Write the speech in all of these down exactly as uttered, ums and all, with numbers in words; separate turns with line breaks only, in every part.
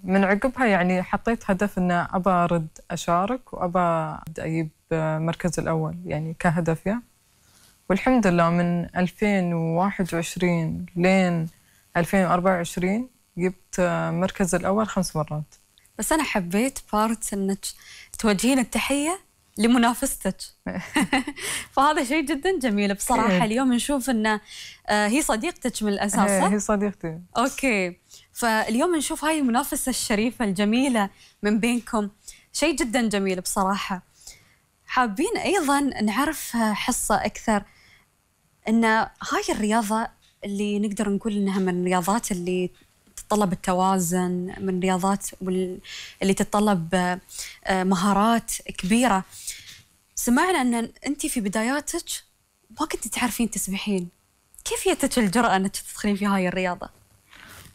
من عقبها يعني حطيت هدف إن أبى أرد أشارك وأبى أجيب مركز الأول يعني كهدف يا والحمد لله من ألفين وواحد وعشرين لين ألفين وأربعة وعشرين جبت مركز الأول خمس مرات.
بس أنا حبيت بارت إنك توجهين التحية لمنافستك. فهذا شيء جدا جميل بصراحة. اليوم نشوف إن هي صديقتك من الأساس.
هي صديقتي.
أوكي، فاليوم نشوف هاي المنافسة الشريفة الجميلة من بينكم، شيء جدا جميل بصراحة. حابين أيضا نعرف حصة أكثر إن هاي الرياضة اللي نقدر نقول إنها من الرياضات اللي تتطلب التوازن، من الرياضات اللي تتطلب مهارات كبيرة. سمعنا أن أنت في بداياتك ما كنت تعرفين تسبحين، كيف جتك الجرأة أنك تدخلين في هاي الرياضة؟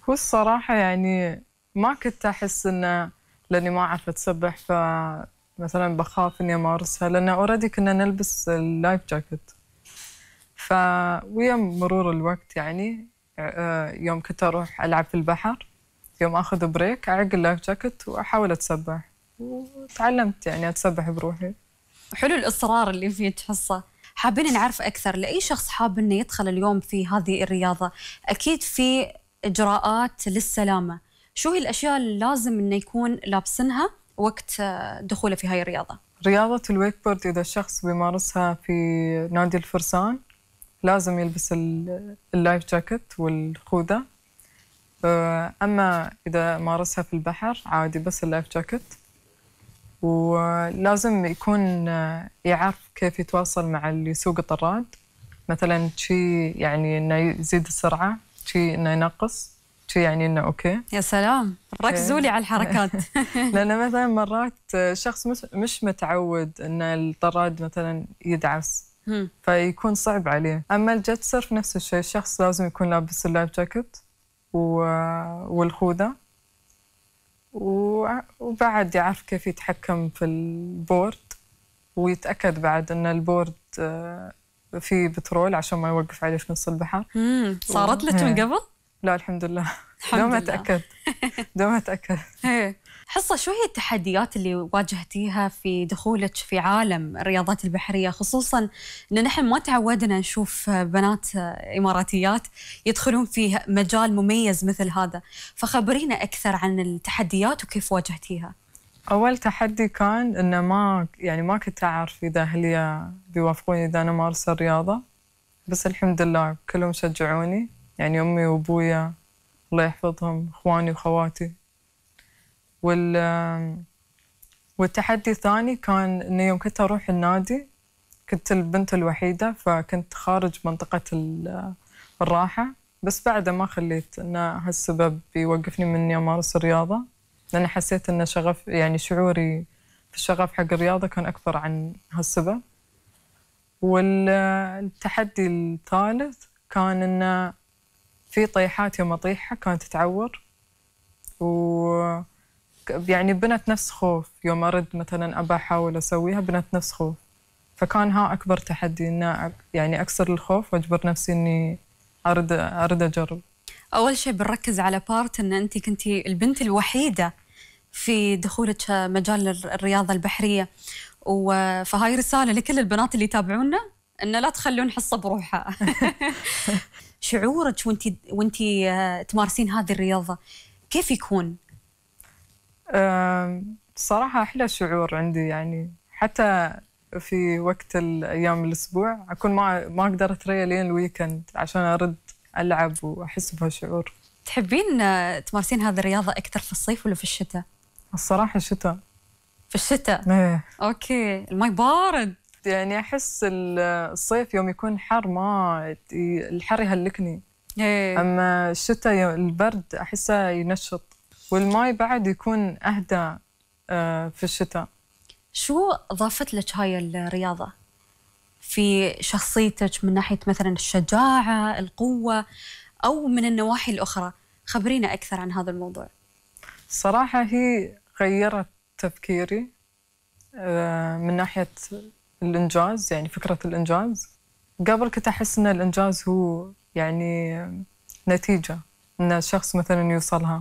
هو الصراحة يعني ما كنت أحس إنه لأني ما أعرف أتسبح فمثلا بخاف إني أمارسها، لأن أوريدي كنا نلبس اللايف جاكيت. فويا مرور الوقت يعني يوم كنت أروح ألعب في البحر، يوم أخذ بريك أعق اللايف جاكيت وأحاول أتسبح، وتعلمت يعني أتسبح بروحي.
حلو الإصرار اللي فيك حصة. حابين نعرف أكثر لأي شخص حاب إنه يدخل اليوم في هذه الرياضة، أكيد في إجراءات للسلامة. شو هي الأشياء اللي لازم إنه يكون لابسنها وقت دخوله في هاي الرياضة؟
رياضة الويك بورد إذا الشخص بيمارسها في نادي الفرسان لازم يلبس اللايف جاكيت والخوذة. أما إذا مارسها في البحر عادي بس اللايف جاكيت. ولازم يكون يعرف كيف يتواصل مع اللي يسوق الطراد، مثلا شي يعني إنه يزيد السرعة، شي إنه ينقص، شي يعني إنه أوكي.
يا سلام، ركزوا لي على الحركات.
لأن مثلا مرات شخص مش متعود إن الطراد مثلا يدعس، فيكون صعب عليه. أما الجيت سيرف نفس الشيء، الشخص لازم يكون لابس اللايف جاكيت والخوذة، وبعد يعرف كيف يتحكم في البورد، ويتأكد بعد أن البورد فيه بترول عشان ما يوقف عليه في نص البحر.
امم صارت لك من قبل؟
لا الحمد لله. دوم أتأكد دوم أتأكد.
حصة، شو هي التحديات اللي واجهتيها في دخولك في عالم الرياضات البحرية، خصوصاً أن نحن ما تعودنا نشوف بنات إماراتيات يدخلون في مجال مميز مثل هذا، فخبرينا أكثر عن التحديات وكيف واجهتيها.
أول تحدي كان إنه ما يعني ما كنت أعرف إذا أهلي بيوافقوني إذا أنا مارسة الرياضة، بس الحمد لله كلهم شجعوني، يعني أمي وأبويا الله يحفظهم، إخواني وخواتي. وال والتحدي الثاني كان إنه يوم كنت أروح النادي كنت البنت الوحيدة، فكنت خارج منطقة الراحة، بس بعد ما خليت إن هالسبب يوقفني من إني أمارس الرياضة، لأن حسيت إن شغف يعني شعوري في الشغف حق الرياضة كان أكبر عن هالسبب. والتحدي الثالث كان إنه في طيحات يوم أطيحها كانت تتعور، و يعني بنت نفس خوف يوم أرد مثلا أبى أحاول أسويها، بنت نفس خوف. فكان ها أكبر تحدي، إنه يعني أكسر الخوف وأجبر نفسي إني أرد أرد أجرب.
أول شيء بنركز على بارت إن أنت كنتي البنت الوحيدة في دخولك مجال الرياضة البحرية، فهاي رسالة لكل البنات اللي يتابعونا إن لا تخلون حصة بروحها. شعورك وانتي وانتي تمارسين هذه الرياضة كيف يكون؟
صراحة أحلى شعور عندي، يعني حتى في وقت الأيام الأسبوع أكون ما ما أقدر أتريا لين الويكند عشان أرد ألعب وأحس بهالشعور.
تحبين تمارسين هذه الرياضة أكثر في الصيف ولا في الشتاء؟
الصراحة الشتاء.
في الشتاء؟
ايه.
أوكي، المي بارد.
يعني أحس الصيف يوم يكون حر ما الحر يهلكني.
ايه.
أما الشتاء البرد أحسه ينشط، والماي بعد يكون أهدى في الشتاء.
شو أضافت لك هاي الرياضة في شخصيتك من ناحية مثلا الشجاعة، القوة، أو من النواحي الأخرى؟ خبرينا أكثر عن هذا الموضوع.
صراحة هي غيرت تفكيري من ناحية الإنجاز، يعني فكرة الإنجاز. قبل كنت أحس إن الإنجاز هو يعني نتيجة إن الشخص مثلا يوصلها،